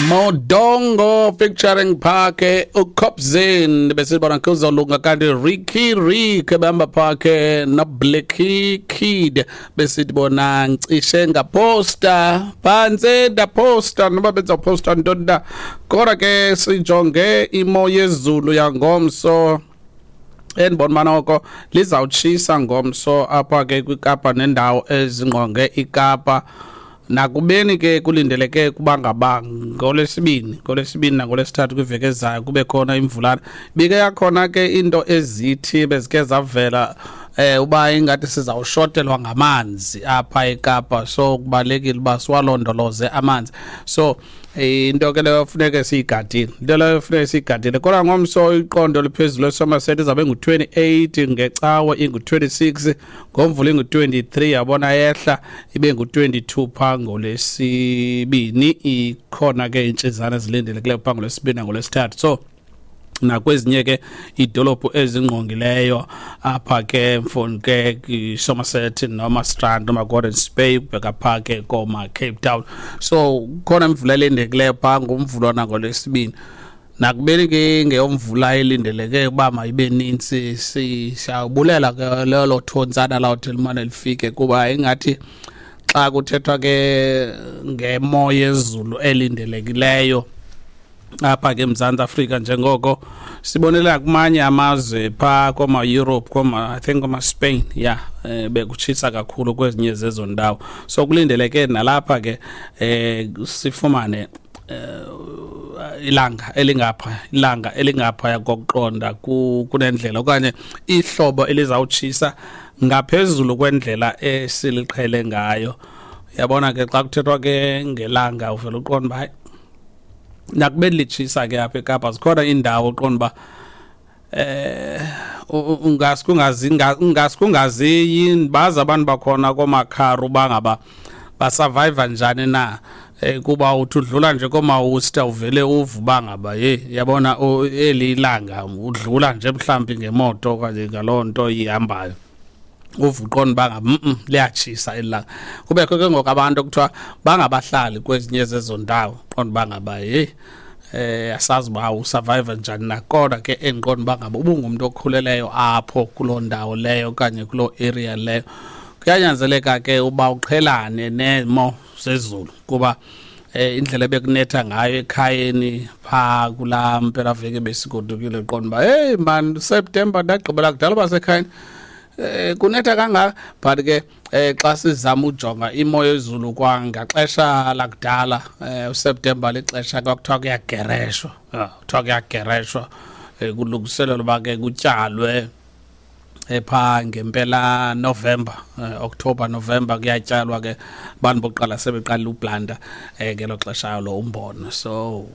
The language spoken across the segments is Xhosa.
Modongo featuring Phake uCopzin besibona kuzolunga, kanti Ricky Rick behamba phake noBlacky Kid besithi bona ncishe ngaposta phantse ndaposta noba bezawuposta ntoni na. Kodwa ke sijonge imo yezulu yangomso, endibona uba noko lizawutshisa ngomso apha ke kwiKapa nendawo ezingqonge iKapa, nakubeni ke kulindeleke kuba ngaba ngolwesibini nangolwesithathu kwiveki ezayo kube khona imvulana. Bike yakhona ke into ezithi bezike zavela uba ingathi sizawushotelwa ngamanzi apha eKapa, so kubalulekile uba siwalondoloze amanzi. So into ke leyo funeke siyigadile, into leyo funeke siyigadile. Kodwa ngomso iqondo liphezulu eSomerset izabe ngu-28, ngeCawe ingu-26, ngoMvulo ingu-23, yabona yehla ibe ngu-22 phaa ngolwesibini. Ikhona ke intshizana ezilindelekileyo phaa ngolwesibini nangolwesithathu. So nakwezinye ke iidolophu ezingqongileyo apha ke mfoni ke iSomerset noma Strand noma Gordons Bay kubheka phaa ke koma Cape Town, so khona imvula elindekileyo phaa ngoMvulo nangolwesibini, nakubeni ke ngeyomvula elindeleke uba mayibe nintsi. Siyawubulela ke lelo thontsana lawuthi limane lifike, kuba ingathi xa kuthethwa ke ngemo yezulu elindelekileyo apha ke eMzantsi Afrika, njengoko sibonelela kumanye amazwe phaa kooma-Europe, kooma, I think kooma-Spain, ya bekutshisa kakhulu kwezinye zezo ndawo. So kulindeleke nalapha ke sifumane ilanga elingapha, ilanga elingaphaya kokuqonda kunendlela, okanye ihlobo elizawutshisa ngaphezulu kwendlela esiliqhele ngayo. Yabona ke xa kuthethwa ke ngelanga uvela uqonda uba hayi, nakubeni litshisa ke apha eKapa, zikhona iindawo uqonda uba ungasikungazi bazi abantu bakhona koomakharu uba ngaba basurvive njani na, kuba uthi udlula nje koomawusta uvele uve uba ngaba ye yabona eli ilanga, udlula nje mhlawumbi ngemoto okanye ngaloo nto ihambayo, uve uqonda uba ngaba liyatshisa eli langa. Kubekho ke ngoku abantu ekuthiwa bangabahlali kwezinye zezo ndawo, qonda uba ngaba yeyi, asazi uba usurvive njani na. Kodwa ke endiqonda uba ngaba ubungumntu okhuleleyo apho kuloo ndawo leyo okanye kuloo area leyo, kuyanyanzeleka ke uba uqhelane nemo zezulu, kuba indlela ebekunetha ngayo ekhayeni phaa kulaa mpelaveki besigodukile, qonda uba hey man, September ndagqibela kudala uba sekhayeni, kunetha kangaka. But ke xa sizama ujonga imo yezulu kwangaxesha lakudala, uSeptember lixesha kwakuthiwa kuyagereshwa, kuthiwa kuyagereshwa, kulungiselelwa uba ke kutyalwe epha ngempela November, October, November kuyatyalwa ke, abantu bokuqala sebeqalile uplanta ngelo xesha lo umbona. So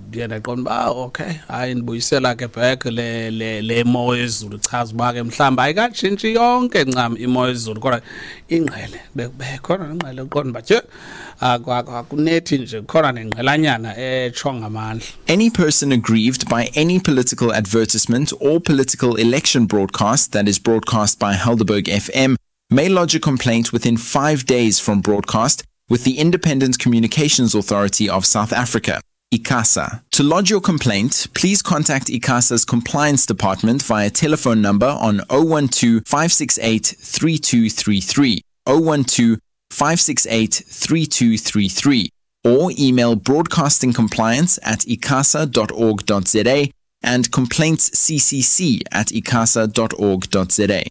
ndiye ndaqonda uba okay, hayi, ndibuyisela ke back le mo yezulu, chaza uba ke mhlawumbi ayikatshintshi yonke ncam imo yezulu, kodwa ingqele bekhona nengqele, uqonda uba tye akunethi nje, khona nengqelanyana etsho ngamandla. Any person aggrieved by any political advertisement or political election broadcast that is broadcast by Helderberg FM may lodge a complaint within 5 days from broadcast with the Independent Communications Authority of South Africa, ICASA. To lodge your complaint, please contact ICASA's compliance department via telephone number on 012 568 3233, 012 568 3233, or email broadcastingcompliance@icasa.org.za and complaintsccc@icasa.org.za.